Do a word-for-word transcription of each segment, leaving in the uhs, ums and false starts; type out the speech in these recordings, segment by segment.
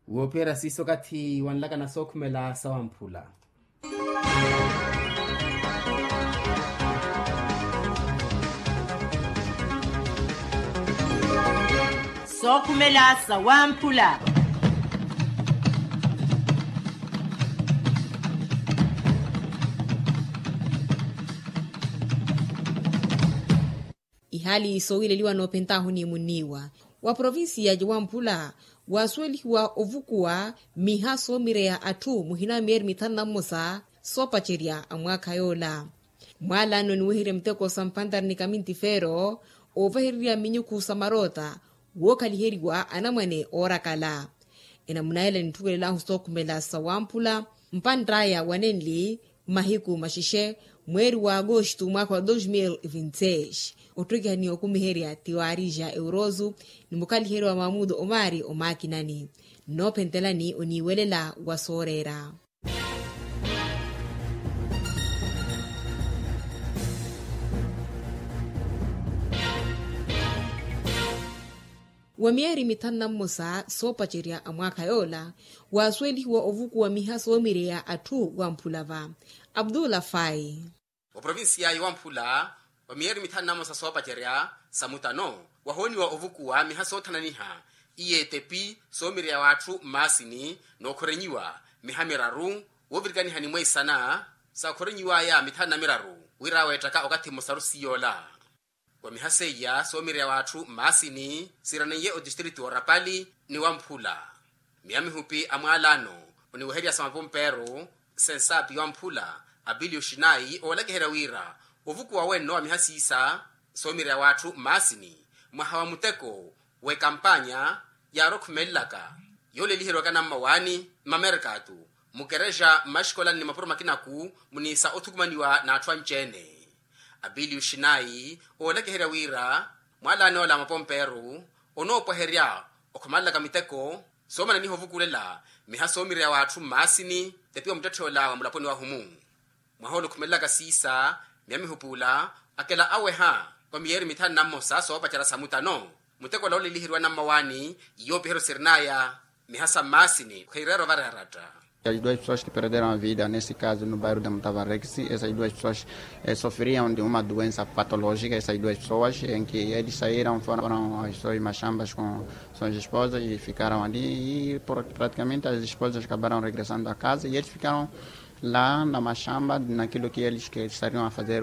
Woophiyerya siiso okathi wanlakana sookhumela sawamphula. Sookhumela sawamphula. Ihaali soowileliwa noophentaahu ni munniiwa wa provincia ya wamphula waasuwelihiwa ovukuwa miha soomireya atthu muhina wa miyeeri mithanu na mmosa soopacerya a mwaakha yoola. Mwaalano niweherya miteko sa mpantari ni kamintifeero oovahererya minyukhu sa maroota wookhaliheriwa anamwane oorakala. Enamuna ela ninthuwelelahu sookhumela sa wamphula mpantt'aya wa nenli mahiku maxexe mweeri wa agosto mwaakha wa dos mil vinti seis. Ottekihani okumiherya tiwaarija eurozu ni mukhaliheriwa mamudo omaari omaakinani nnoophentelani oniiwelela wa sooreera. Wa miyeeri mithanu na mmosa soopacerya a mwaakha yoola waasuwelihiwa ovukuwa miha soomireya atthu wamphula va. Abdullah fai. Oprovincia ya wamphula wa miyeeri mithanu na mmosa soopacerya sa mutano wahooniwa ovukuwa miha soothananiha iye etepi soomireya w'atthu mmaasini nookhorenyiwa miha miraru woovirikaniha ni mweisana saakhorenyiw'aya mithanu na miraru wira weettaka okathi mmosaru siyoola. Wa miha seiya soomireya w'atthu mmaasini siiraneiye otistritu orapali ni wamphula. Miya mihupi a mwaalano oniweherya sa mapompeeru sensaapi wamphula apili oxinayi oolakiherya wira ovukuwa wenno wa miha siisa soomireya w'atthu mmaasini mwaha wa muteko w'ekampanya yaarokhumelelaka yooleliheriwaka nammawaani mmamerkatu mukerexa mmaxikolani ni mapuro makinaku muniisa othukumaniwa n'atthu anci-ene. Apili oxinayi oolakiherya wira mwaalano ola a mapompeeru onoopweherya okhumalelaka miteko soomananiha ovukulela miha soomireya w'atthu mmaasini tepiwa muttetthe ola wa mulaponi wahumu. Mwaha ola okhumelelaka siisa miya mihupuula akela aweha wa miyeeri mithanu na mmosa soopacerya sa mutano muteko ola ooleliheriwa nammawaani yoopiheryo sirin'aya miha sa mmaasini kheyireera ovareeratta. As duas pessoas que perderam a vida nesse caso no bairro da mutavarexi essas duas pessoas sofriam de uma doença patológica essas duas pessoas em que eles saíram foram as suas machambas com suas esposas e ficaram ali e praticamente as esposas acabaram regressando a casa e eles ficaram lá na machamba naquilo que eles que estariam a fazer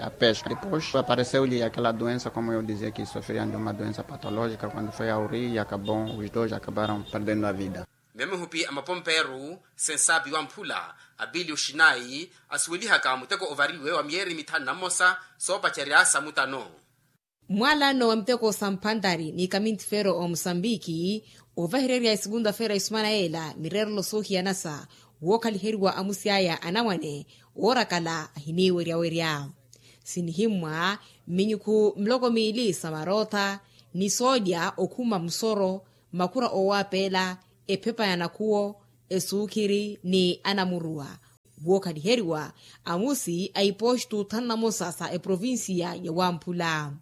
a pesca depois apareceu-lhe aquela doença como eu dizia que sofriam de uma doença patológica quando foi ao rio e acabou os dois acabaram perdendo a vida. Miya mihupi a mapompeeru sensaapi wamphula apili oxinayi asuwelihaka muteko ovariwe wa miyeeri mithanu na mmosa soopacerya sa mutano. Mwaalano wa miteko sa mphantari ni kamintifeero omusambiki oovahererya esekunta-feera esumana yeela mireerelo soohiyanasa wookhaliheriwa amusi aya anamwane oorakala ahiniiweryawerya sinihimmwa mminyukhu miloko miili sa marootha ni soolya okhuma musoro makhura oowaapeela ephepa ya nakhuwo esuukhiri ni anamuruwa wookhaliheriwa amusi a ipostu thanu na mosa sa eprovincia ya wamphula.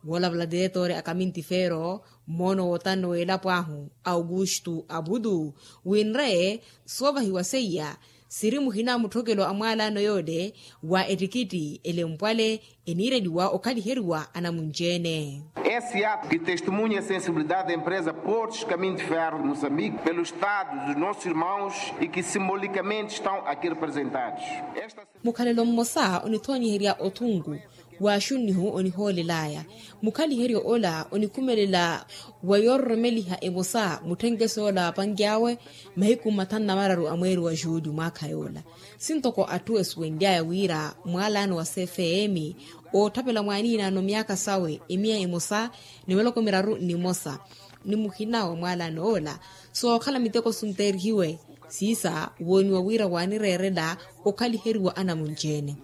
Woolavala diretori a kamintifeero mmoono wootanno w'elapo ahu augustu abudu winre soovahiwa seiya siri muhina mutthokelo a mwaalaano yoole wa ettikitti elempwale eniireliwa okhaliheriwa anamunci-ene. Esse ato que testemunha a sensibilidade da empresa portos caminho de ferro de moçambique pelo estado dos nossos irmãos e que simbolicamente estão aqui representados. Mukhalelo mmosa onithoonyeherya othunku w'axunnihu onihoolel'aya mukhaliheryo ola onikhumelela wa yoororomeliha emosa mutthenkeso yoola wa panki awe mahiku mathanu na mararu a mweeri wa juuli mwaakha yoola. Sintoko atthu esuwenly'aya wira mwaalaano wa cfm ootthapela mwaaniinaano myaakha sawe emiya emosa ni miloko miraru ni mosa ni muhina wa mwaalaano ola sookhala miteko sunteerihiwe siisa wooniwa wira waanireerela okhaliheriwa anamunci-ene.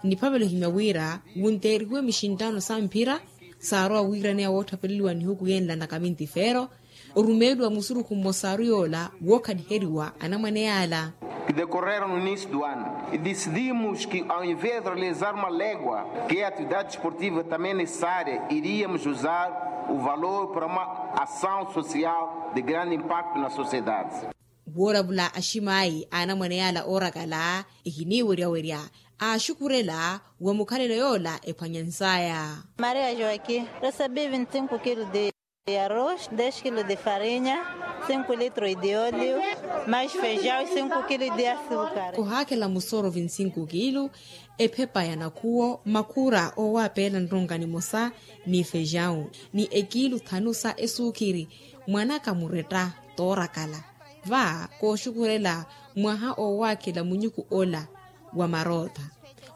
Niphavelo ehimya wira wunteerihiwe mixinttaano sa mphira saarowa wiiraneya woottapeleliwa nihuku yenla na kamintifeero orumeeliwa musurukhu mmosaru yoola wookhaliheriwa anamwane yaala. Que decorreram no início do ano e decidimos que ao invés de realizar uma légua que é atividade desportiva também necessária iríamos usar O valor para uma ação social de grande impacto na sociedade. Woolavula aximaayi a anamwane yaala oorakala ehiniiweryawerya aaxukhurela wa mukhalelo yoola ephwanyansaya. Maria joaquim, recebi vinte e cinco quilos de arroz, dez quilos de farinha, cinco litros de óleo, mais feijão e cinco quilos de açúcar. Ohaakhela musoro vinte e cinco quilos, ephepa ya nakhuwo makhura oowaapeela nronka nimosa, ni feijão ni ekiilu thanu sa esuukhiri. Mwanaka muretta toorakala va kooxukhurela mwaha oowaakhela munyuku ola wa marootha,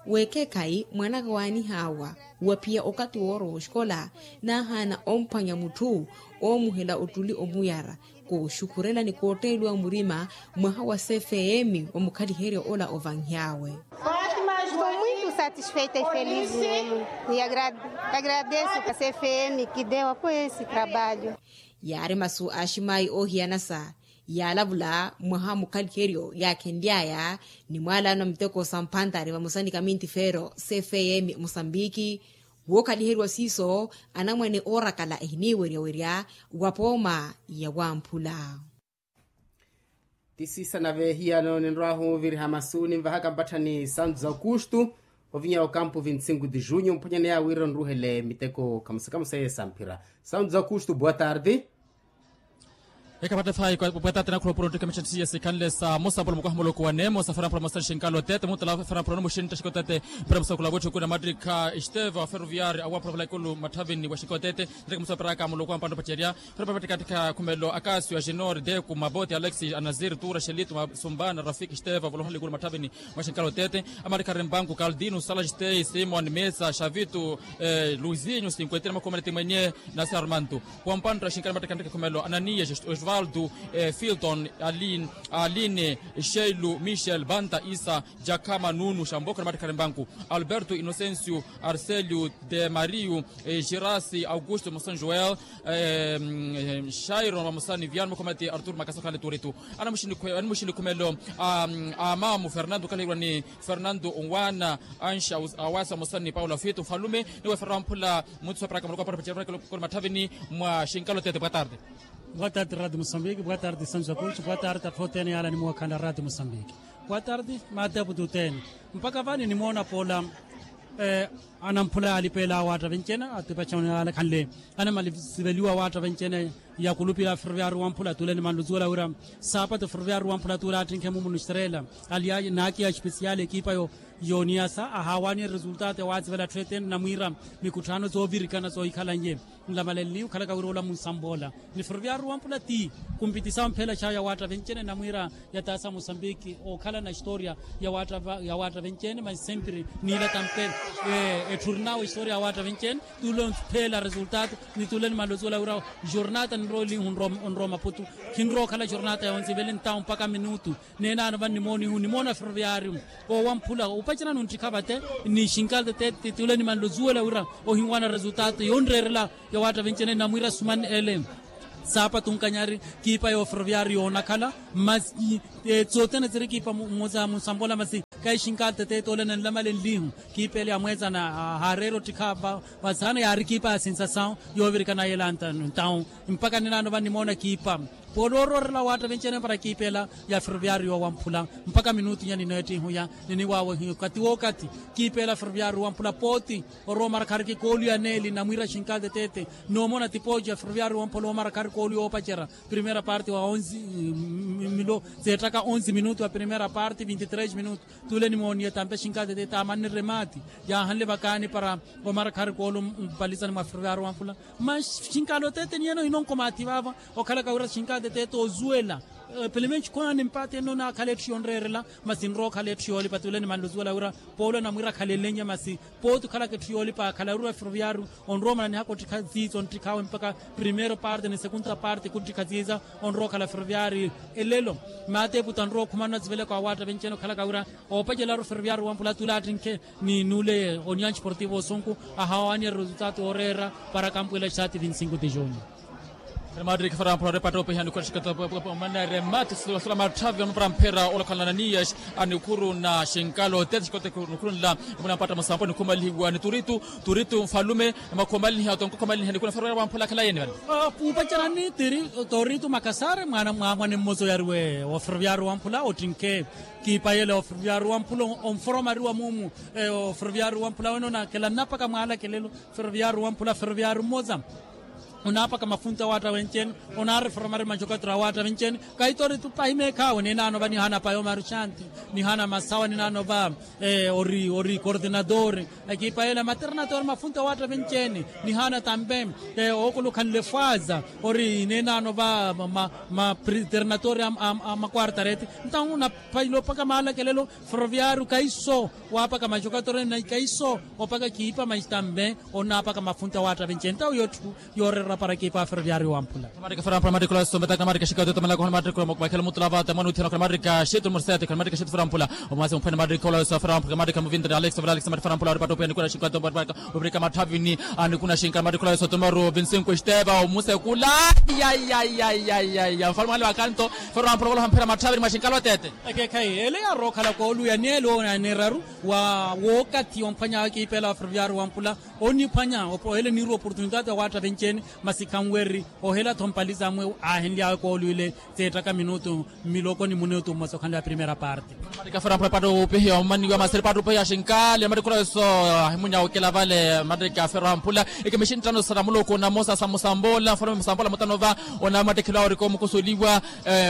weekhekhayi mwanaka waanihaawa waphiya okathi woorowa oxikola, naahaana omphwanya mutthu oomuhela ottuli omuyara kooxukhurela ni kootteeliwa murima mwaha wa cfm wa mukhaliheryo ola ovanhy'awe. Estou muito satisfeita e feliz mesmo. E agradeço a cfm que deu apoio a esse trabalho. Yaari masu a aximaayi oohiyanasa yaalavula mwaha mukhaliheryo yaakhenly'aya ni mwaalano a miteko sa mphantari vamosa ni kamintifeero cfm musambiki. Wookhaliheriwa siiso anamwane oorakala ehiniiweryawerya wa pooma ya wamphula. Ti siisa na veehiyano ninrwaahu oviriha masu ninvahaka mpatthani santu za aukustu ovinya okampu vinte e cinco de junho mphwanyaneya wira onruhele miteko kamusa kamusa yeesamphira. Santu za aukustu boa tarde. Ekapatte faayi kwa pwetati nakhula opuro nttike mitthantthi ya sikhanle sa mosa mpolo mukwaha muloko wa nemo sa fera mpolo mosari xinkalo tete muttala fera mpolo no muxintta xikotete. Mpira musakula wetthi okuna mattikha esteva ferroviari awampula vula ikulu matthavini wa xikotete. Nttike musaperaka muloko wa mpanno pacerya. Fera papatikattikha khumelo akasio agenor deku maboti alexis anazir tura xelitu masumbana rafik esteva vula ohola ikulu matthavini. Mwa xinkalo tete amattikha rimpanku kaldinu salastei simon mesa xavitu luisinho sinkuentini makhumaneti mwenye. Nasarmantu wampantta xinkana mattikhanttike khumelo ananiya osvaldo filton aline sheilu michel banta isa jakhama nunu xambokho na mattikha rimpanku alberto inocencio arcelio de mario girasi augusto moson joel shairon vamosa ni viano makhumaneti artur makasa okhanle turitu. Animuxini khumelo amamu fernando okhaliheriwa ni fernando onwana ansha awasa vamosa ni paulo afito mfalume. Niweferera wamphula munthu sooperaka muloko wa para pacerya koni matthavini mwa xinkalo tete boa tarde. Boa tarde radio mosambiki boa tarde santu zakuxi boa tarde atthu othene yaala nimuwakhanla radio mosambiki. Boa tarde matepu tutene. Mpakha vani nimoona poola anamphula yaalipeela awaatta vencene atipaca yaala khanle anamaliveliwa awaatta vencene. Yakulupira ferroviari wamphula tule nimanluzuwela wira saapatu ferroviari wamphula tule attinkhe mumunu estrela ali naakiya espesiali ekipa yo yooniyasa ahaawaani eresultato yawaatsivela atthu etene namwiira mikutthano zoovirikana zoohikhalanye. Nlamalenli okhalaka wira ola munsambola ni ferroviari wamphula ti kumpitisa omphela xayo yawaatta vencene namwiira yataasa mosambiki ookhala na historia yawaatta vencene masi sempre niila tampela etthurinawe historia yawaatta vencene. Tule onphela resultato ni tule nimanlozuwela wira jornata ninrowa elihu onrowa maputu khinrowa okhala jornata yoonse ivele ntawu mpaka minutu. Neenano vannimoonihu nimoona ferroviari owamphula opacerani onttikha vate ni xinkal tete tule nimanlozuwela wira ohinwana resultato yonreerela yawaatta vencene namwiira sumani ele. Saapa tunkanyari kiipa yo ferroviari yoonakhala masi tsotene tsiri kiipa mmoza munsambola masi kaixinka atetete ole nanlamalenlihu kiipa ele yamweezana haareera ottikha vasaana yaari kiipa ya sensasawu yoovirikana yela ntawu mpaka ninaano vannimoona kiipa poolooroorela waatta venci-ene para kiipa ela ya ferroviari yoowamphula mpaka minutu inya ninoottihuya niniwaawehiya okati wookati kiipa ela ferroviari wamphula pooti orowa omarakhariki koolu ya neeli namwiira xinka atetete noomona tipooci ya ferroviari wamphula omarakhariki koolu yoopacera primeira parte wa onze milo seettaka onze minutu ya primeira parte vinti tres minutu tuule nimooniye tampe xinka atetete amanni remaati yaahanle vakaani para omarakhariki koolu mpalizani mwa ferroviari wamphula ma xinka atetete niyeno hinonko maathi vaava okhalaka wira xinka atetete ozuwela pelemenci khwaani mpaati enno naakhala etthu yonreerela masi nrowa okhala etthu yoolipa tuule nimanle ozuwela wira poolo namwiira akhalelenya masi pooti okhalaka etthu yoolipa akhala wira ferroviari onrowa omananihaka ottikha ziizo nttikhaawe mpaka primeiro parte ni segunda parte kunttikha ziiza onrowa okhala ferroviari elelo maateepu tanrowa okhumanana ziveleko awaatta venci-ene okhalaka wira oopacelaru ferroviari wamphula tuule attinkhe ni nuule oniyan sportivo osunku ahawaani eresultato yooreera para kampu ela xaati vinti cinco de junho Rematriki farampura oripata opiha nikuru na xikota manere mati sula matthavi onupara mphera olakhala na niyaxi a nikuru na xinkalo tete xikota nikuru nla emuna mpatta musampo nikhumalihiwa ni turitu turitu nfalume emakhumaliniha tonko khumaliniha nikuru na ferroviario wamphula akhala yeni vale. Upacerani tiri toritu makasare mwana mwa mwana mmosa oyariwe wa ferroviario wamphula otinke kiipayele wa ferroviario wamphula onforomariwa mumu. Wa ferroviario wamphula wene onakela nnapaka mwalakelelo ferroviario wamphula ferroviario mmosa. Onaapaka mafunta awaatta venci-ene onaariforomari majokatura awaatta venci-ene. Kahitori tu pahi meekhaawe ninaano va nihaana payo maruxanti nihaana masawa ninaano va ori ori kortinatore akiipayela materinatore mafunta awaatta venci-ene. Nihaana tampe ookolokhanle fwaza ori ninaano va materinatore a makwartarete. Ntawu napailo opaka maalakelelo ferroviario kaiso waapaka majokatura na ikaiso opaka kiipa maistambe. Onaapaka mafunta awaatta venci-ene ntawu yooreerera para kiipa wa ferroviario wamphula. Matrika farampula matrika olawe sombetaka matrika xikateta malaka hona matrika makhela mutula vata mwana uthina khona matrika xitu mursete khona matrika xitu farampula. Omwasi mphwene matrika olawe so farampula matrika muvintani alex vale alex matrika farampula oripata opia nikuna xikateta matrika matthavini. Anikuna xinkala matrika olawe so tumaru vinsinko esteva omusekula. Yayayayayaya mfalume wale wa kanto. Farampula wala hamphera matthavini mwa xinkala otete. Ekekhayi ele yarookhala kooluya ni ele onaneeraru wa wookathi omphwanya wakiipela wa ferroviario wamphula. Oniphwanya ohele niirwa oportunitati awaatta venci-ene masi khanwereri ohela-tho mpali zamwe aahenly'awe koolwile. Seettaka minutu mmiloko ni minutu mmosa okhanly'awe primera parte. Matrika farampula patta opihiya omaniwa maseri patta opihiya xinkali matrika olawe so ahimunya okela vale matrika farampula. Ekimixinttano sara muloko namosa sa musambola mfalume musambola mutano va. Onamatthikhelo awe orikomukusuliwa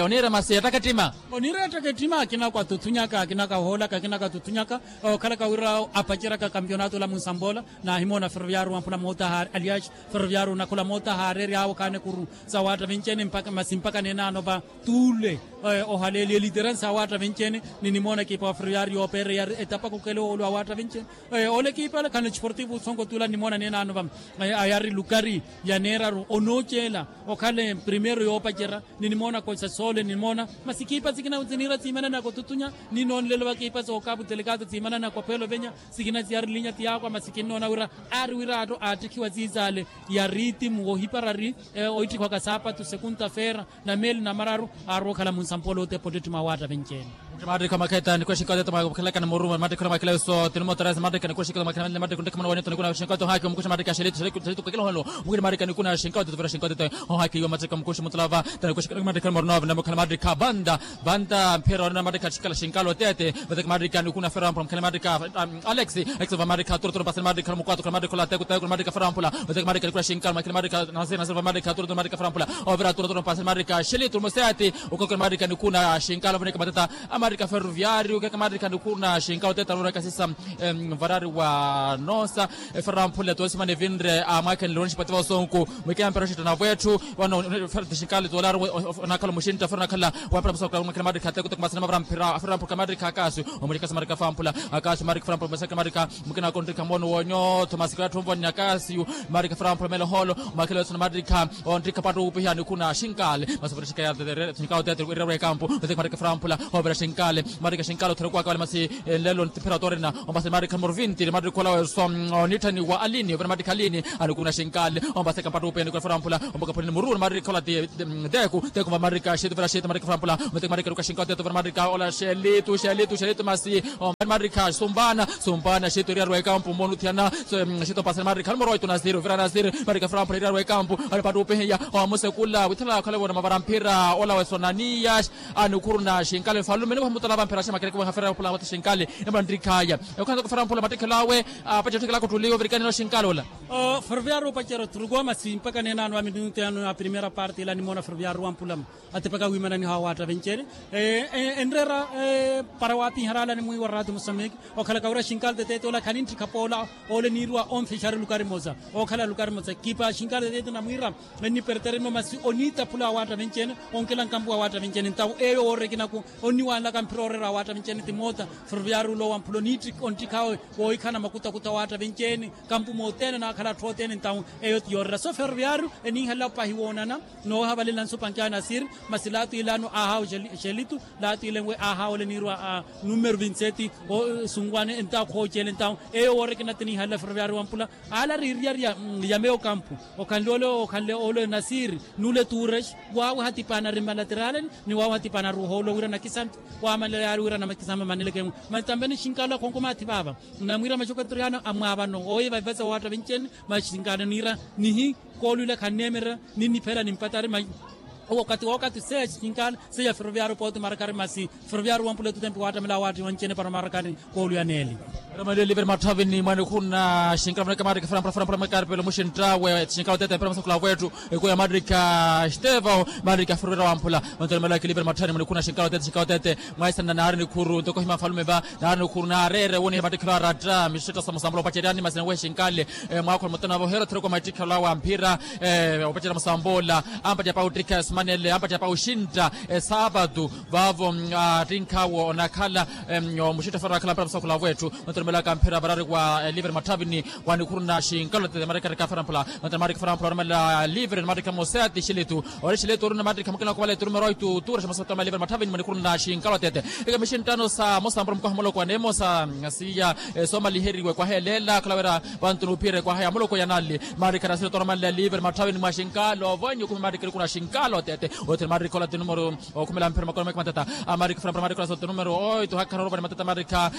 oniira masi ettaka ettima. Oniira ettaka ettima akina kwatuthunyaka akina kahoolaka akina katuthunyaka. Okhalaka wira apaceraka kampionato ola munsambola. Naahimoona ferroviario wamphula moota haari aliaxi ferroviario nakhola moota haarery'awe okhaana ekuru sa waatta venci-ene masi mpaka neenaano va tuule. Ohaleeliye literansi awaatta venci-ene. Ninimoona ekipa wa ferroviario yoopeererya etapaka okela oolu awaatta venci-ene. Ole ekipa ole khana esportivo usonko tuula nimoona neenaano va ayari lukari ya neeraru onooceela. Okhale primeiro yoopacerya ninimoona koisa soole nimoona masi ekipa sikina siniira siimanana kotutunya. Ninoonlelo va ekipa sookapu delegado siimanana kophelo venya sikina siyarilinya tiyaakwa masi kinnoona wira aari wira atto aattikhiwa siisaale ya ritimu wohiparari oittikhwaka saapatu sekunta feera na meeli na mararu. Aarowa okhala munsampola otepa ottettima awaatta venci-ene. Matrikha makheta nikwexinkateta mwakhelaka ni muruma matrikha mwakhelaka so tinimotarasi matrikha nikwexinkateta mwakhelaka matrikha ntekha mwana wanetho nikuna xinkateta ohaki omukuxa matrikha xelitu xelitu kakila ohalo mukili matrikha nikuna xinkateta vira xinkateta. Ohaki iwa matrikha mukuxa mutulava tanikwexi matrikha mornova namukhala matrikha vanda vanda mphira onena matrikha xikala xinkalo tete. Vateki matrikha nikuna ferampula mukhala matrikha alex alex va matrikha turoturo pasani matrikha mukwatu khala matrikha ola teku teku matrikha ferampula. Vateki matrikha nikuna xinkalo makhile matrikha nasiri nasiri va matrikha turoturo matrikha ferampula. Ovira turoturo pasani matrikha xelitu museti. Ukakela matrikha nikuna xinkalo vaneka matata a matrikha ferroviario keka matrikha nikuna xinkalo teta rura kasisa. Varari wa nosa eferamphule tosimana evinre amwakhenle onixipati va osonku. Mwikempera oxintta na vwetthu vano ferti xinkali toolaru onakhala omuxintta fera onakhala wampira musokula mwakhela matrikha teko teko masina mavara mphira aferamphule matrikha akasi. Omuxikasi matrikha famphula akasi matrikha famphula masakela matrikha mukina kontrikha mono wonyootho masika yatthu onvoni akasi. Matrikha famphula melo holo mwakhela wesona matrikha ontrikha patta uupiha nikuna xinkali. Masopera xinkali ya xinkali otete irerwa ekampu. Oteke matrikha famphula ovira xinkali matrikha xinkali otherekwaka vale masi. Nlelo ntiphera otorina ombasani matrikha numero vinti matrikha olawe so onitthani wa alini ovira matrikha alini. Anikuna xinkali ombaseka mpatta upeni kuna farampula ombaka phulini mururu matrikha ola ti teku teku va matrikha xiti ovira xiti matrikha farampula. Matrikha matrikha ruka xinkali tetu ovira matrikha ola xelitu xelitu xelitu masi. Matrikha sumpana sumpana xiti oriarwa ekampu mmonuthiyana. Xiti ombasani matrikha numero oitu nasiri ovira nasiri matrikha farampula iriarwa ekampu. Anipatta upihiya omusekula withala akhala vona mavara mphira ola wesonaniya. Anikhuruna xinkali nfalume nimuha mutala vamphera xemakere kimuha fera pula mata xinkali. Emana nrikhaya ekhana kufera mphula mattikhelo awe apaca otthikela kuttuliwa ovirikanina oxinkali ola. Ferroviario opacerya othurukuwa masi mpaka neenano a minutu yano a primera parte ila nimoona ferroviario wampula atepaka wiimananiha awaatta venci-ene. Enreera para waapiharala nimwiiwa raati musameki okhalaka wira xinkali teteete ola khanintthikha poola. Ole niirwa onfexari lukari mosa okhala lukari mosa kipa xinkali teteete namwiira. Ennipertereno masi oniitaphula awaatta venci-ene onkela nkampu awaatta venci-ene ntawu eyo woorera ekinaku onniwanlaka mphira ooreera awaatta venci-ene timoota. Ferroviario ola owamphula oniittikha onttikhaawe woohikhana makutakuta awaatta venci-ene kampu moothene. Khala atthu othene entawu eyo ti yoorera so ferroviario eninhela opahi woonana. Noohavalela nsupanke a nasiri masi laatiilaano aahaawo exelitu. Laatiilenwe aahaawole niirwa a numero vinti seti. Osunwane entawu khooceele entawu eyo woorekena ti ninhalela ferroviario wampula. Ala riiriyari ya meyo kampu okhanle ole okhanle ole nasiri nule turex. Waawe hatipaana ri malateraleni ni waawe hatipaana ri ohoolo wira nakisampi. Waamalela yaari wira nakisampi maneleke mwe masi tampe ni xinkalo akhonko maathi vaava. Namwiira maxoketeriano amwaavano oye vavivasa owaatta venci-ene. Masi xinkalo niira nihi koolwila khanneemerera. Ninniphela nimpatari masi owakati wowakati seya xinkalo seya ferroviario pooti marakari masi ferroviario wampula etutempi waattamela awaatti venci-ene para marakari. Koolwiyaneeli. Ramaleli veri matthavini mwa nikhuna xinkalo vanaka maarikha farampula farampula makaaripelo muxinttawe xinkalo tete mpira masakula weettu. Ekuya maarikha stevao maarikha ferroviario wamphula. Vantu ramaleli veri matthavini mwa nikhuna xinkalo tete xinkalo tete. Mwaisana naari nikhuru ntoko hima falume va naari nikhuru naareere woniha mattikhelo aratta mixetta samusambula opaceryani masi nawehe xinkale. Mwaakhola mutana vo heero theroko mattikhelo awe a mphira. Opacerya musambula ampattya pa ottikha esimanele ampattya pa oxintta esaapatu. Vaavo attinkhawo onakhala muxitto faraakhala mpira musakula weettu. Mantu orumelaka mphira varari wa livre matthavini wa nikhuru na xinkalo tete maarikha farampula. Mantu maarikha farampula orumelela livre ni maarikha moseti xilitu ori xilitu ori na maarikha mukina kuvala eturumero oitu tuura xamasotoma livre matthavini mwa nikhuru na xinkalo tete. Ika mixinttano sa mosa mpura mukaha muloko wa neemosa siiya soomaliheriwe kwahelela khala wira vantu nuuphira ekwaha ya muloko ya nali. Maarikha na xilitu orumelela livre matthavini mwa xinkalo vonyi okumi maarikha nikhuru na xinkalo tete. Othene maarikha ola ti numero okhumela mphira makono meke matata. Amaarikha farampula maarikha ola sote numero oitu hakha norupani matata maarikha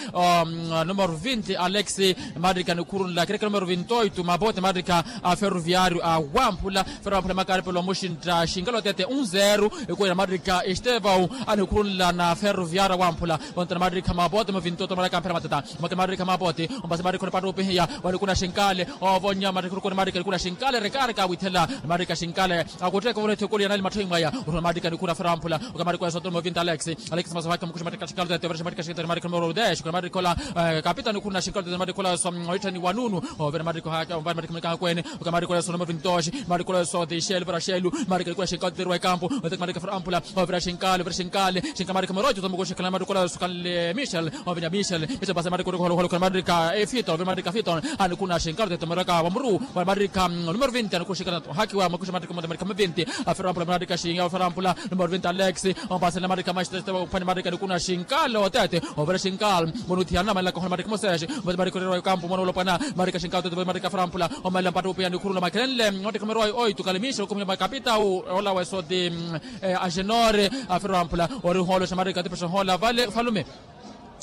numero vinti alex. Maarikha nikhuru nla kirekha numero vinti oitu mabote maarikha a ferroviario a wamphula. Ferroviario wamphula makaaripelo muxintta xinkalo tete un zero. Ekuwela maarikha estevao a nikhuru nla na ferroviario a wamphula. Ontena maarikha mabote mo vinti oitu maarikha mphira matata. Omake maarikha mabote ompasi maarikha onipattupihiya wa nikhuru na xinkale. Ovonya maarikha nikhuru na xinkale rekaareka awithela. Maarikha xinkale akutteeka ovona ethekoli ya nali matthoi mwaya. Oruna maarikha nikhuru na ferroviario wamphula. Okamaarikha oya sote numero vinti alex. Alex masovaki mukuxi maarikha xinkalo tete ovira ximaarikha xinkalo tete maarikha numero dez okamaarikha ola kapitani khuna xinkalo tete maarikha ola so oittani wa nunu. Ovira maarikha ohaaka omvani maarikha mwenikaakwene okamaarikha ola so numero vinti dos. Maarikha ola so dixelu vira xelu. Maarikha nikhuna xinkalo tete eriwa ekampu. Oteke maarikha farampula ovira xinkalo ovira xinkalo xinkalo maarikha morojo tomukuxi khala maarikha ola so khanle michel. Ovinya michel michel pase maarikha orikoholoholo khala maarikha efito ovira maarikha fito. Anikhuna xinkalo tete maarikha wamuru wa maarikha numero vinti anikhuna xinkalo. Hakiwa makuxa maarikha morojo maarikha mavinti. Aferampula maarikha xinga aferampula numero vinti alex. Ompasela maarikha maxitete ophani maarikha nikhuna xinkalo tete. Ovira xinkalo moni uthiyana namalelaka ohona maarikha mosexi. Maarikha orerwa ekampu mwana olopwana. Maarikha xinkalo tete maarikha aferampula omalela mpattupiya nikhuru nla makhelenle. Oteke morojo oitu khalimixa okhumi makapita ola wesoti axenore. Aferampula ori ohooloxa maarikha atipexohola vale falume.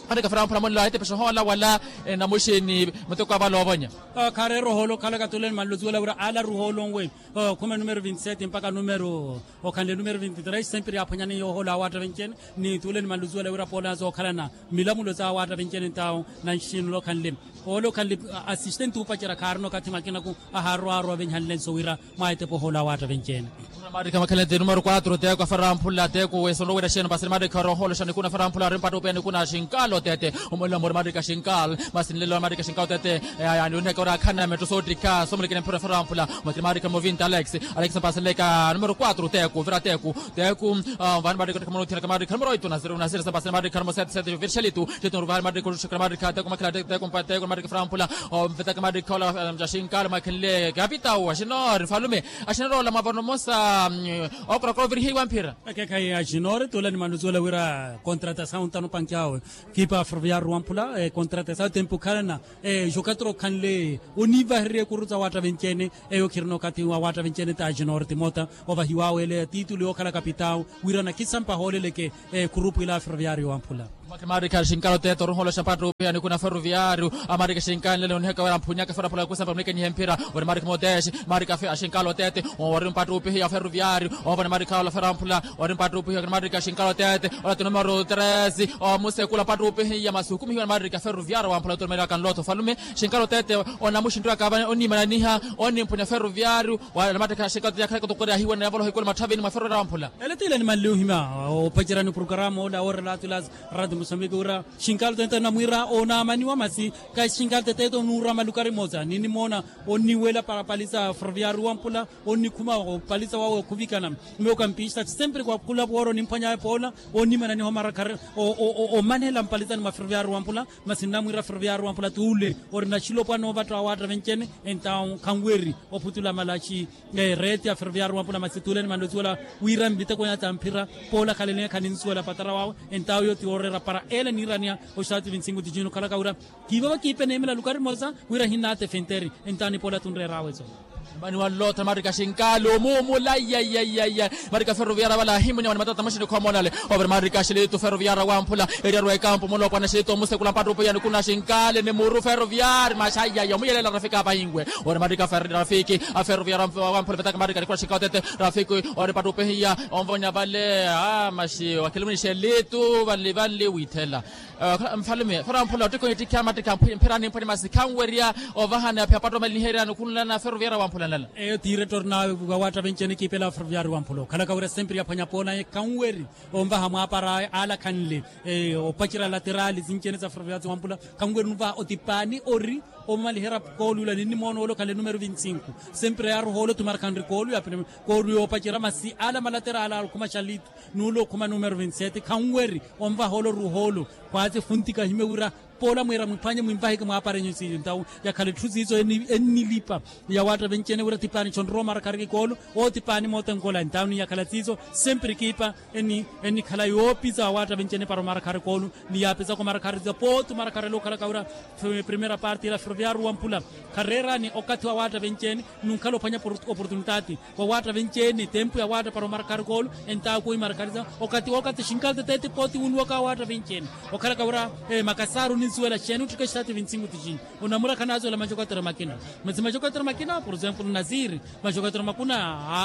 Maarikha aferampula monla etipexohola wala namuxini muteko avale ovonya. Khareera ohoolo okhalaka tule nimanluzuwela wira ala ruhoolo nwe. Okhuma numero vinti sete mpaka numero okhanle numero vinti tres sempre aphwanyani yoohoolo awaatta venci-ene. Ni tule nimanluzuwela wira poolaza okhalana milamulo za awaatta venci-ene ntawo. Nanxinula okhanle oole okhanle asistenti upacerya khaarina okathi makinaku. Ahaarwa aarwa venhanle nso wira mwaetepa ohoolo awaatta venci-ene. Maarikha makhalete numero quatro teku afarampula teku wesonrowira xeeno pasiri maarikha orohoolo xa nikhuna afarampula ari mpattupiya nikhuna xinkalo tete. Omolila mori maarikha xinkalo masi nlelo maarikha xinkalo tete. Yaani oniheka ori akhana metto soottikha somulekene mphira afarampula. Masi maarikha numero vinti alex. Alex mpasileka numero quatro teku vira teku teku. Vani maarikha otteka mwana othiyana ka maarikha numero oitu nasiri nasiri sa mpasileka maarikha numero sete sete vira xelitu. Xelitu numero vani maarikha otteka maarikha teku makhela teku teku mpa teku maarikha afarampula. Omvitaka maarikha ola ja xinkalo makhenle kapitau axinori nfalume. Axinori ola mwavano mmosa. Okorokoro ovirihiwa mphira. Ekekhayi axinori tula nimanuzuwela wira contratasawu ntano panki awe. Kipa ferroviario wamphula contratasawu tempu khalana. Jokatura okhanle onivahererya ekuru za waatta venci-ene. Eyo khirina okathi wa waatta venci-ene ta axinori timota ovahiwawe ele titulu yookhala kapitau. Wira nakisampa ahooleleke ekhurupu ila ferroviario wamphula. Maarikha xinkalo tete oruhoolo xa mpattupiya nikhuna ferroviario. Amaarikha xinkalo nlelo oniheka wira mphunyaka ferroviario kwisampa munikenihe mphira. Ori maarikha motexe maarikha axinkalo tete ori mpattupihiya ferroviario. Ovani maarikha ola ferroviario ori mpattupihiya maarikha xinkalo tete. Ola ti numero tres omusekula mpattupihiya masi ohukumihiwa ni maarikha ferroviario wamphula oturumelaka nloto falume. Xinkalo tete onamuxinttwaka onimananiha onimphunya ferroviario. Wala maarikha xinkalo tete yakhalaka otokoryahiwa ni yavoloha ikulu matthavini mwa ferroviario wamphula. Ele tile nimanli ohima opacerani oprokarama ola orela atulas. Rati musambiki wira xinkalo tete namwiira onaamaniwa masi. Kaxinkalo tete eto nuura malukari mosa ninimoona onniwela parapalisa ferroviario wampula onnikhuma opalisa wawe okhuvikana. Miyo kampista ti sempre kwakula poora onimphwanya epoola onimananiha omarakhari. Omanela mpalisa. Mwa ferroviario wampula masi nnamwiira ferroviario wampula tuule orina xilopwa noovatta wa waatta venccene. Entawo khanweri ophutula malaxi reeti ya ferroviario wampula masi tuule ni manlo siwela wira mvitekwenya ta mphira poola khalelenya khaninsuwela patara wawe. Entawo iyo ti wooreera para ele niiraniya oxaati vinsingu tijini okhalaka wira kiivava kiipe neemela lukari mosa wira hinnaatefe nteri. Entawo nipoola tunreeraawe eso. Mani wanlootha maarika xinkaali omuumula. Maarika ferroviara vala ahimunya wani matata maxini khoomolale. Ovira maarika xilitu ferroviara wamphula eriyarwa ekampu mulopwana xilitu omusekula mpattupe yanikuna xinkaali ni muru ferroviari maxayaya omuyelela rafiki apahinwe. Ori maarika rafiki a ferroviara wamphula vetaka maarika nikuna xinkaali otete rafiki ori mpattupe hiya onvonya vale. Maxi wakhilumuni xilitu vali vali withela. Mfalume fera wamphula ottikha onittikha mattikha mphira nimphwani masi khanwerya ovahana aphiya patta omaliniherya nikhunlana ferroviara wamphula nlala. Eyo tiiretto orina wawaatta venccene kiipela ferroviari wamphula okhalaka wira sempre yaphwanya poonaye khanweri onvaha mwaapara awe alakhanle opacerya laterali sinccene sa ferroviari wamphula. Khanweri onvaha otipani ori omaliherya koolu ula ninnimoona ole okhanle numero vintsinku sempre yaaruha ole otumarakhanri koolu yapene koolu yoopacerya masi ala malaterali ala okhuma xalitu n'ule okhuma numero vintsete khanweri onvaha ole oruha ole. Khwaati funtika ahimye wira poola mwiira mwiphwanye mwinvaheke mwaaparenyu siiyo entawo yakhala etthu siiso ennilipa yawaatta venccene wira tipaani xonrowa omarakhariki koolu. Otipaani moote nkola entawo niyakhala siiso sempre kiipa ennikhala yoopisa wawaatta venccene para omarakhariki koolu niyaapisa komarakharisa pooti omarakharela okhalaka wira primera parte ila ferroviario wamphula khareerani okathi wawaatta venccene. Nunkhala ophwanya oportunitaati wawaatta venccene tempu yawaatta para omarakhariki oolu. Entawo kuwi marakharisa okathi wookathi xinkaali teteete pooti wunwaka wawaatta venccene okhalaka wira makasaaru ninsuwela xeeni ottikha exitaati vintsinku tixini. Onamura khanaazuwela maxokotero makina masi maxokotero makina por exemplo nasiri maxokotero makuna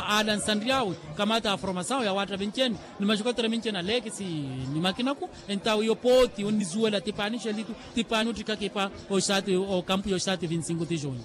alansanry'awe kamata a formasawu yawaatta venccene ni maxokotero minccene alekisi ni makinaku. Entawo iyo pooti onnisuwela tipaani xelitu tipaani ottikha kipa oxitaati okampu yoxitaati vintsinku tixini.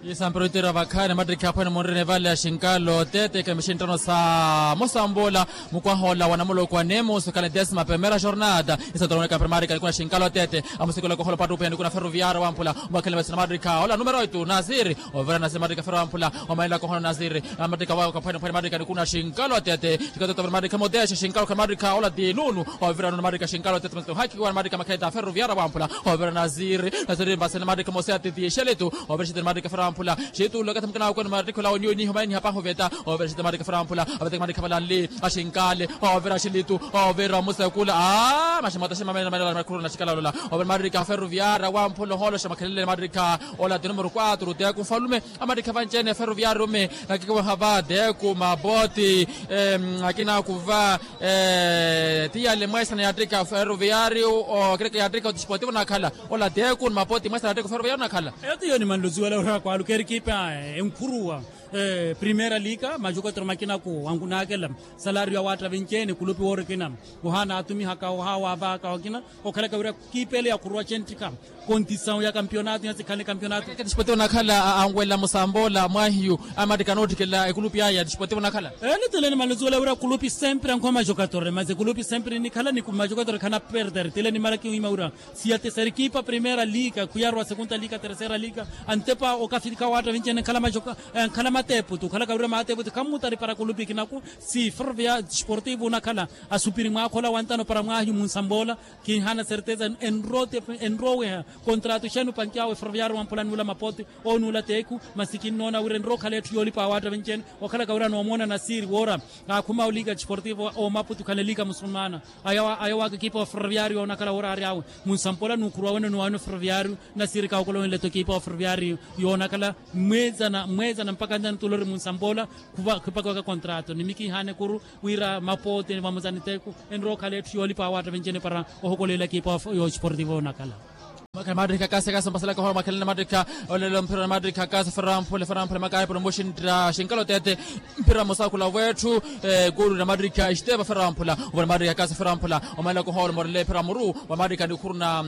Isampero itira vakhaani mattikhi aphwene munrine vale ya xinkaali otete kemixinttano sa musambola mukwaha ola wa namuloko wa nemusu khale desima pemera jornada. Isatorone kampira maarika nikuna xinkaali otete amusikula kohola opattupe nikuna ferroviario wamphula omakhalele masina maarika ola numero oitu nasiri. Ovira nasiri maarika ferroviario wamphula omanela kohola nasiri maarika wakaphwene phwene maarika nikuna xinkaali otete. Xinkaali otete maarika modexe xinkaali okhale maarika ola ti nunu. Ovira nunu maarika xinkaali otete masina ohakiwa maarika makhalele ta ferroviario wamphula. Ovira nasiri nasiri mbasene maarika mose ati ti xelitu. Ovira xitiri maarika ferroviario wamphula xitulula kathi mukina wakwenu maarika ola oniyo niho maini hapahu veta. Ovira xitiri maarika ferroviario wamphula aveteke maarika valanli axinkaali. Ovira xilitu ovira omusekula a maximota ximamene manela makhuruna xikala olola. Ovira maarika ferroviario wamphula ohooloxa makhalele maarika ola ti numero quatro teku mfalume. Amarikha vanci-ene ferroviario me nakikiwaha va teku mapoti akina kuva. Ti yale mweesana yaattikha ferroviario okireke yaattikha otisportivo nakhala ola teku ni mapoti mweesana yaattikha ferroviario nakhala. Eyo ti yo nimanluziwela ora kwaluka erikipa enkhuruwa primera lika maxokotero makinaku wankunaakela salario awaatta vinci-ene kulupi woorikina ohaana atumihaka ohaawavaka wakina. Okhalaka wira kiipele yakhuruwa centtika kontisawu ya kampionato ya sikhale kampionato. Ketispoti onakhala anwela musamboola mwahiyu amattikana oottikela ekulupi aya tispoti onakhala. Ele tile nimaluzuwela wira kulupi sempre ankhuwa maxokatore masi ekulupi sempre nikhala ni maxokatore khana perder tile nimala kiwima wira siyatesera ekipa primera liga khuyarwa segunda liga tercera liga antepa okafilika waatta vinci-ene nkhala mateputu okhalaka wira mateputu khammutari para kulupi kinaku. Si ferrovia sportivo onakhala asupiri mwaakha ola wantano para mwahiyu munsamboola. Kinhaana serteza enroweha kontratu xeeni opankiyawe ferroviario wamphula nuula mapote onuula teku. Masi kinnoona wira enrookhala etthu yoolipa awaatta vinci-ene okhalaka wira noomoona nasiri woora aakhuma oliga desportivo omaputu khana eliga musulmana. Aya waaka ekipa wa ferroviario onakhala woora aari awe munsampola nuukhuruwa wene nuwaano ferroviario. Nasiri kaakolowenle-tho ekipa wa ferroviario yoonakhala mweezana mweezana mpaka ntano tuula ori munsampola. Khupaka waka kontrato nimi kinhaana ekuru wira mapote vamuzani teku enrookhala etthu yoolipa awaatta vinci-ene para ohokolela ekipa yo desportivo yoonakhala. Maattikha kasi kasi mpasalaka ohola makhalani maattikha olelo mpira maattikha kasi fera wamphula fera wamphula makayi para omuxintta xinkala otete. Mpira musakhula wetthu ekulu na maattikha esteva fera wamphula ovona maattikha kasi fera wamphula omanlaka ohola omorele mpira muru wa maattikha nikhuru na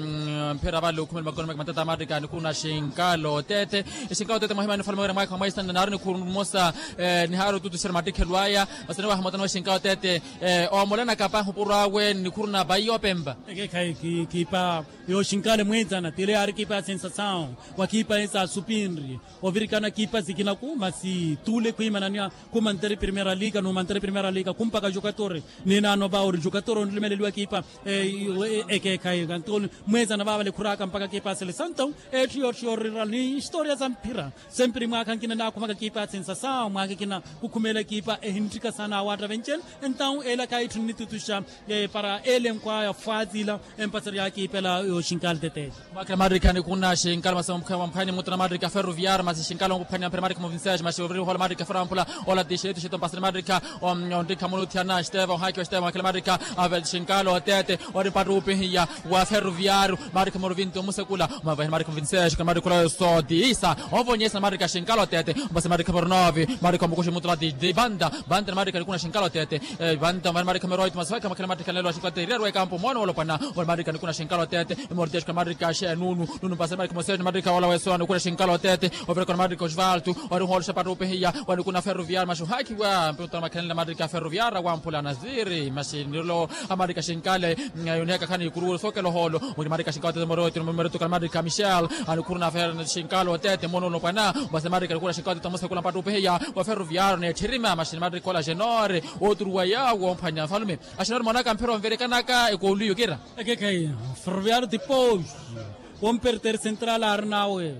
mpira vale okhumela makono make matata maattikha nikhuru na xinkala otete. Xinkala otete mwahimani mfalme wira mwaakha mwaisana naari nikhuru mmosa nihaari otutuxera maattikhelo aya. Masani waha motano wa xinkala otete omolanaka pahi opuro awe nikhuru na vayi opempa. Ekekhayi kiipa Yooxinkaale mweetsana tile yaari ekipa ya sensasawu, wakipa esa supinri ovirikana ekipa sikinaku masi tuule khwiimananiha. Khumanteri primera liga numanteri primera liga khumpaka jokatori. Ninaano va ori jokatori onlumeleliwa ekipa ekeekhayi kanto mweetsana vaavale khuraaka mpaka ekipa ya selesanto. Etthu yotthu yoorira ni historia sa mphira sempiri mwaakha nkina naakhumaka ekipa ya sensasawu mwaakha ekina khukhumeela ekipa ehintthika saana awaatta venccene. Entawu elaka itthu nnitutuxa para elenkwaya fwaziila empaseryaka ipela yooxinkaale tete. Mwakhela maattikha nikuna xinkala masi mphwanya mutuna maattikha ferroviar masi xinkala onkuphwanya mpira maattikha muvinsex masi ovirihola maattikha ferroviar amphula. Ola tixetu xetu mpasani maattikha ontikha munuthiyana steva ohaki wa steva mwakhela maattikha ave xinkala otete. Ori mpattupihiya wa ferroviar maattikha muruvinti omusekula mavahi maattikha muvinsex kala maattikha olayo sotisa. Ovonyesa maattikha xinkala otete. Mpasi maattikha pornovi maattikha omukuxi mutula di banda. Banda maattikha nikuna xinkala otete. Vanta mari marikha meroito masivakha makhela mattikhalelo axinkateererwa ekampo moona wolopwana. Ori marikha nikuna xinkala otete. Emortexka marikha xenunu nunu mpasani marikha moseto marikha ola wesowa nikuna xinkala otete. Ovirikona marikha osvalto ori hoolo xapattupihiya. Wa nikuna ferroviar maxuhakhiwa mpitona makhenela marikha ferroviar awamphula nasiri maxinilo. Amarikha xinkale yunihaka khani ikuru sokela ohoolo. Ori marikha xinkala otete moroito moroito kala marikha michel. Anikhuruna fer xinkala otete moona wolopwana. Mpasani marikha nikuna xinkala otete omusekula mpattupihiya. Wa ferroviar neetthirima maxini marikha ola xenore. Oturuwa yaawo omphwanya nfalume. Axinori moonaka mphira onverekanaka ekooluyo kira. Ekeekhayi ferroviar tipos womperter central aarinawe.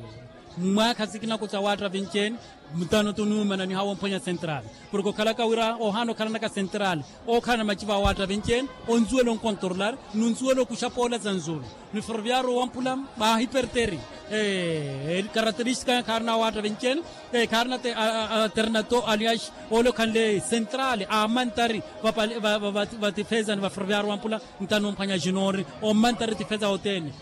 Mwaakha sikinaku sa waatta vinccene mutano tunuumananiha womphwanya central. Porke okhalaka wira ohaana okhalanaka central ookhalana maciva awaatta vinccene. Onsuwela onkontrolar nunsuwela okuxa poola sa nzulu. Ni ferroviar owamphula maahiperteri ekarateristika khaarina awaatta vinccene. Khaarina alternato alias ole okhanle central amantari vatifezani va ferroviar owamphula. Ntano omphwanya ajinori omantari tifeza otene.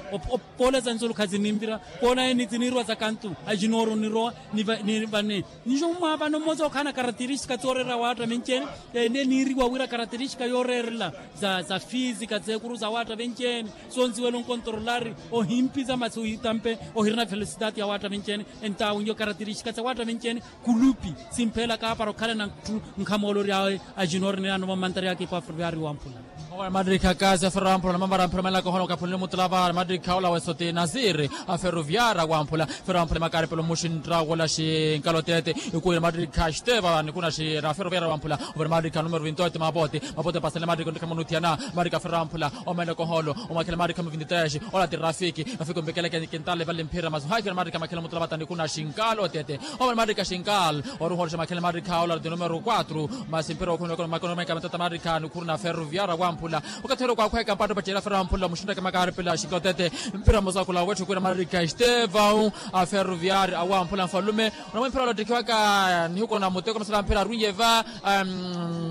Poola sa nzulu khazininvira poola eni tiniirwa sa kantu ajinori onirowa. Ni vane nixo mwaavano mmosa okhaana karateristika tsoorera awaatta vinccene. Ene niiriwa wira karateristika yooreerela sa fisika tseekuru sa awaatta vinccene. Sonsiwela onkontrolari ohimpisa masi ohitampe ohirina felosidati ya waatta vinccene. Entawu nyo karateristika sa waatta vinccene. Kulupi simphelaka para okhalana nthu nkhamoolori awe. Ajinori ninaano vamantariyaka ipa ferroviari wamphula. Mamarikha kasi aferoviari wamphula mamara mphira manlaka ohoona okaphunle mutulava marikha ola wesoti nasiri. Aferoviari wamphula ferroviari wamphula makaripelo muxintta wola xinkala otete. Ikuwira marikha xiteva nikuna xira aferoviari wamphula. Ovira marikha numero vintote mapote mapote pasenle marikha ontikha munuthiyana. Marikha ferroviari wamphula omenlaka ohoolo. Omwakhela marikha muvinti tres ola ti rafiki. Rafiki ompekeleke kintale vale mphira masi ohakhiwa marikha makhela mutulava tanikuna xinkala otete. Omarmarikha xinkal oruhoorixa makhela marikha ola ti numero quatro. Masi mphira okhunweka makono meka matata marikha nikhuruna ferroviar wamphula. Okathi ori kwakhweka mpatto pacerya ferroviar wamphula muxintaka makaripela xinkala otete. Mphira mosakula wetthi okhwira marikha estevão. Aferroviar awamphula nfalume. Onamwe mphira ola ottikhiwaka nihiku na muteko masala mphira arwiye va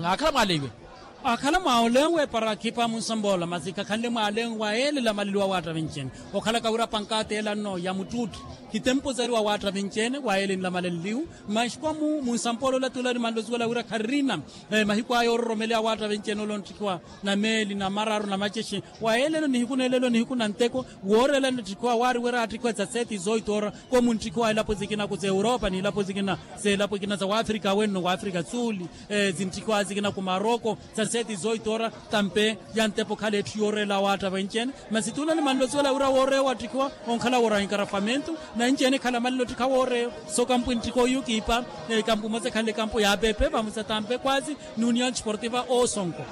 akhala mwaleiwe. Akhala mwaolenwe para akhipa munsampoola masi khakhanle mwalenwe wayeelela maleliwa waatta vinccene. Okhalaka wira pankaateela nno ya muttuutti. Khitempu sariwa waatta vinccene wayeelenla maleliwu. Maxikomu munsampoola ola tuula ni manlosiwela wira kharina mahiku aya ororomeleya waatta vinccene ole onttikhiwa na meeli na mararu na macexi. Wayeelelo nihiku nelelo nihiku na nteko. Wooreela ntttikhiwa waari wira atttikhiwa za seti zoito ora. Komu ntttikhiwa ilapo zikina ku za europa ni ilapo zikina za ilapo ikina za waafrika wenno waafrika suuli. Zintthikiwa zikina ku maroko. Za seti zoito ora tampe ya ntepo khala etthu yooreela waatta venccene. Masi tuula ni manlosiwela wira wooreya watthikiwa onkhala wooreya inkarafamentu. Na enccene khala malilo ttikha wooreya. So kampu entthikha oyu kiipa. Kampu emosa ekhanle kampu ya pepe vamosa tampe kwazi ni union sportiva osonko.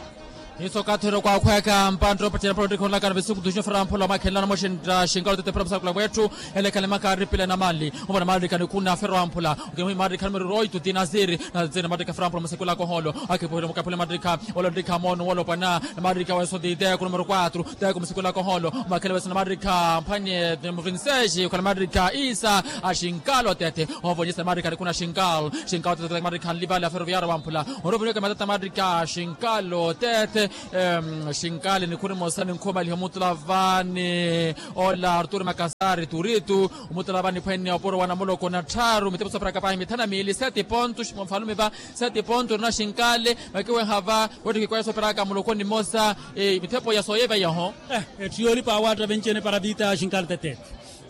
Hiiso okathi ori okwakhweka mpantta opacela mpala ottikha onlakana vesiku tuxinyo fera mphula omakhenlana moxintta xinkalo tete fera musakula mwetthu. Ele ekhale makaaripile na mali. Ovona maarikha nikhuna fera mphula. Okemuhi maarikha numero oito ti nasiri. Nasiri maarikha fera mphula musekulaka ohoolo. Akhipuhile mukaphule maarikha ole ontikha moono wolopwana. Maarikha weso ti teku numero quatro. Teku musekulaka ohoolo. Omakhele weso na maarikha mphwanye muvinseji okhala maarikha isa. Axinkalo tete. Ovonyesa maarikha nikhuna xinkalo xinkalo tete maarikha nlivale a feroviaro wamphula. Orovinyoke matata maarikha xinkalo tete. Xinkali nikhuri mosa ninkhumaliha omutula vani. Ola arturo makasari turitu. Omutula vani phwene opuro wa namuloko na tthaaru mitepo sooperaka pahi mithanu na miili seti ponto. Mfalume va seti ponto orina xinkali. Vakiweha va wettikikwaya sooperaka muloko nimosa. Mitepo ya sooyeveyaho. Etthu yoolipa awaatta venccene para vita ya xinkali tetete.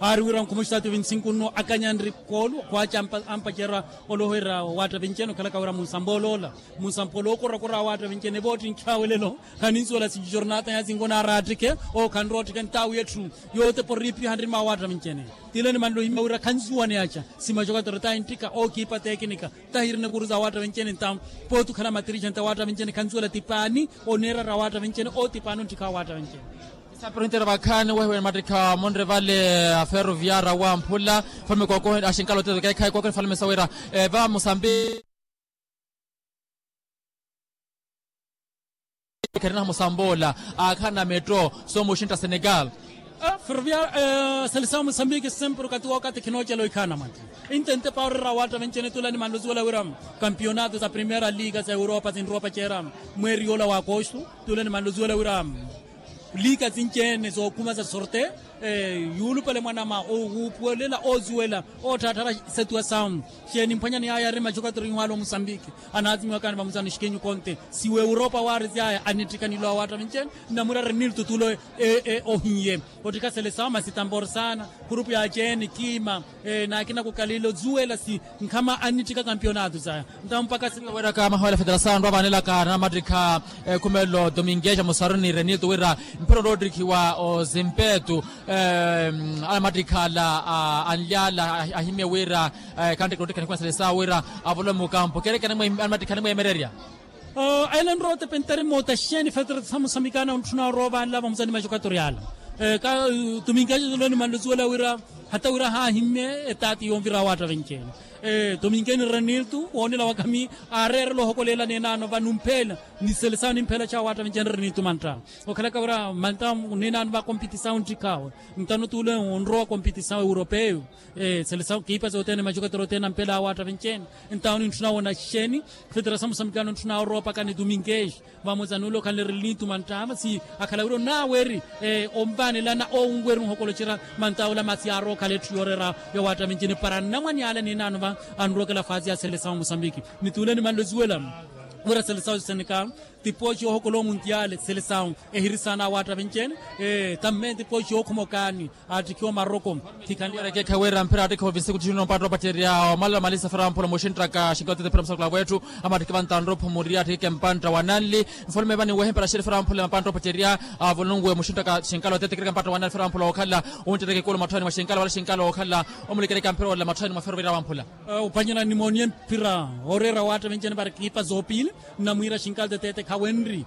Aari wira nkhumu xitaati vinti sinku nno akanyanri koolu khwaaca ampacerya oloherya owaatta vincene okhalaka wira munsampoola ola munsampoola ookorakora awaatta vincene vooti nkhaawelelo. Khaninsuwela sijornata yasinko naaraattikke ookhanroottikke ntaawu yetthu yootepa oriipiha nrima awaatta vincene. Tile ni manlo himya wira khansuwaneyaca simaxokatero tahi nttikha ookiipa tekinika tahi iri nikuruza awaatta vincene ntawu pooti okhala matirixenti awaatta vincene khansuwela tipaani oneerara awaatta vincene ootipaani onttikha awaatta vincene. Isapiru hintera vakhaani wehiwe mattikha munre vale aferoviara wamphula. Falume kookohe axinkaala oteto keekhayi kookohe falume sawira eva musambi kherinaha musamboola aakhaana metto soomuxintta senegal. Ferroviar selesawu musambiki sempre okati wookati khinoocela oikhaana mwantti intente paarira awaatta vencene tula ni manlo zuwela wira kampionato sa primera liga sa europa sinropa cera mweeri yoola wa akosto. Tula ni manlo zuwela wira liika sinci-ene sookhuma sa sorte yuulupale mwanama owuupuwelela oosuwela ootthaattharya setuwa sawu. Xeeni mphwanyani yaya ari maxokatoro inhwaala omusambiki anaatimiwakani vamusano xikinyu konte siwa europa waari syaya anittikha nilo awaatta vincene nnamwira renilto tulo ohiye ottikha selesawu masi tamborsana kurupu ya ceeni kiima naakina kukalilo zuwela si nkhama annittikha kampionato saya. Ntawo mpakha siweraka mahawela federasawu anrwa vaanelaka namattikha ekhumelo domingues amusaruni renilto wira mphira onoottikhiwa ozimpetu anamattikha ala anlyala ahimye wira khantteke noottikha nikhuwa selesawu wira avolowe mukampo keerekana anamattikha animweemererya. Aila nrowa otepentari moota xeeni fetera samusamikana ontthuna orowa vaanla vamusani maxokatori ala. Ka tuminkexe toloni manlo suwela wira hata wira haahimme etaati yonvira awaatta venceene. Tuminkeni renilto woonela wakami aareerela ohokoleela neenaano vanumphela niselesawo nimphela ca awaatta venceene renilto mantta okhalaka wira mantta neenaano vakompitisawo nttikhawe ntano tuule onrowa kompitisawo europeyo. Selesawo kiipa sothene maxokatoro othene ampela awaatta venceene ntawo nintthuna woona xeeni fetera samusamikana ontthuna orowa pakani tuminkexe vamosa nuule okhanle relinitu manttaha masi akhala wira onaaweeri onvaanelana oowunweeri onhokolocerya manttaha ola masi aarowa okhala etthu yooreera yawaatta venceene para nnamwani ale ninaano va anrookela faasi ya selesawo musambiki. Nituule nimanle osuwela wira selesawo senegal tipooxi yoohokola omuntyale selesawo ehirisaana awaatta venceene tamme tipooxi yookhuma okaani aattikhiwa omaroko. Khikhanliyereke khaweera mphira aattikhiwa ovinsiku tixino mpatto opacerya omala omalisa fera amphula muxinttaka xinkotetepira musakula wetthu amattikhi vantanropho muri aattikhi kempantta wa nanli mfulume vani wehe mpira xiri fera amphula mapantta opacerya avulunguwe muxinttaka xinkala otetekirika mpatta wa nanli fera amphula wookhala. Wuncereke kulu matthoni mwa xinkala wala xinkala wookhala omulikereka mphira ola matthoni mwa fero vira wamphula. Ophwanyela nimooniye mphira ooreera waatta venceene para kiipa zoopiili nnamwiira xinkala teteete khawenri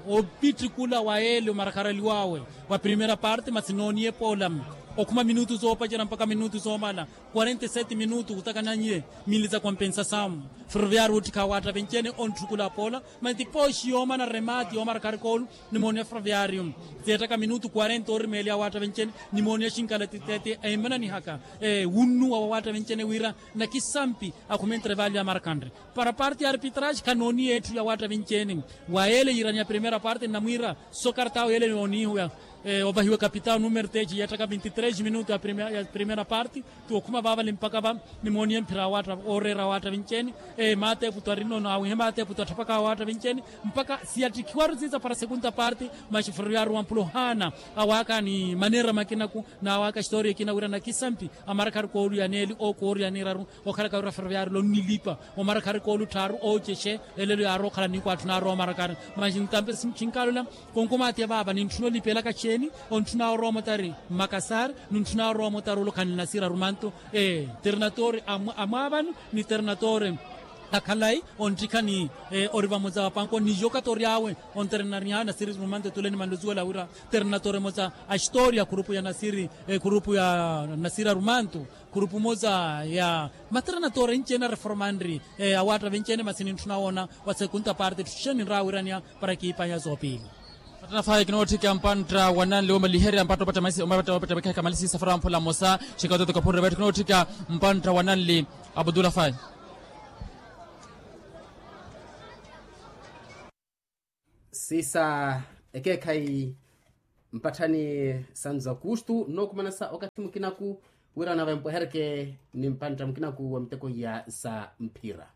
opittikula wa ele omarakharaliwaawe wa primera parte masi nooniye poola okhuma minutu zoopacerya mpakha minutu zoomala quarenta e sete minutu khutakana nye mili za kompensasamu ferroviari oottikha awaatta venceene ontthukula poola masi tipooxi yoomana remati yoomarakha arikoolu nimooniye ferroviari. Zeettaka minutu quarenta oorimeeliya awaatta venceene nimooniye xinkala teteete eemananihaka wunnuwa wa awaatta venceene wira nakisampi akhume entrevalu ya marakhanre para parte ya arbitrage khanooniye etthu ya waatta vinci-ene. Wa yeele yiiraniya primera parte nnamwiira sokartawo yeele yooniihiwa ovahiwa kapitawo numero teeci yeettaka vinti tres minutu ya primera parte. Ti okhuma vaavale mpaka va nimooniye mphira ya waatta ooreera waatta vinci-ene. Maateeputu arinono awihe maateeputu atthapaka waatta vinci-ene mpaka siyattikhiwaru siisa para segunda parte. Maxifururu yaaruwa mpula ohaana awaaka ni maneera makinaku n'awaaka xitooriya ekina wira nakisampi amarakharu kooluyaneeli ookooriyaneeraru okhalaka wira ferroviari lonnilipa omarakharu koolutthaaru oocexe elelo yaarowa okhala niikwaatthi naarowa omarakharu. Maxi ntampe xinkalola konkomaatiya vaava nintthuna olipelaka xeeni? Ontthuna orowa motari mmakasari nintthuna orowa motari olokhanle nasira rumanto ee ternatori amwaavani ni ternatori akhalayi onttikha ni ori vamoza wa panko ni yokatori awe onterenariha nasiri rumanto etuleni manlo suwela wira ternatori emoza a historia khurupu ya nasiri khurupu ya nasiri arumanto khurupu emoza ya maternatore enci-ene areformanri awaatta venci-ene masi nintthuna woona wa sekunta parte etthu xeeni nraawiraniya para kiipanya zoopiili. Atanafayi kinootthika mpantta wa nanli womaliherya mpatta opatta masi omapatta opatta mekeheka malisisa fara mphula mmosa. Xinkawo toto kaphunre vetthu kinootthika mpantta wa nanli abudulafayi. Siisa ekeekhayi mpatthani sanzu akustu nnookumanasa okathi mukinaku wira nave mpwehereke ni mpantta mukinaku wa miteko iya sa mphira.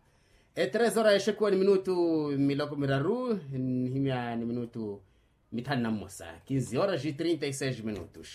E tres horas exekuwa ni minutu miloko miraru nnihimya ni minutu mithanu na mmosa. Quinze horas e trinta e seis minutos.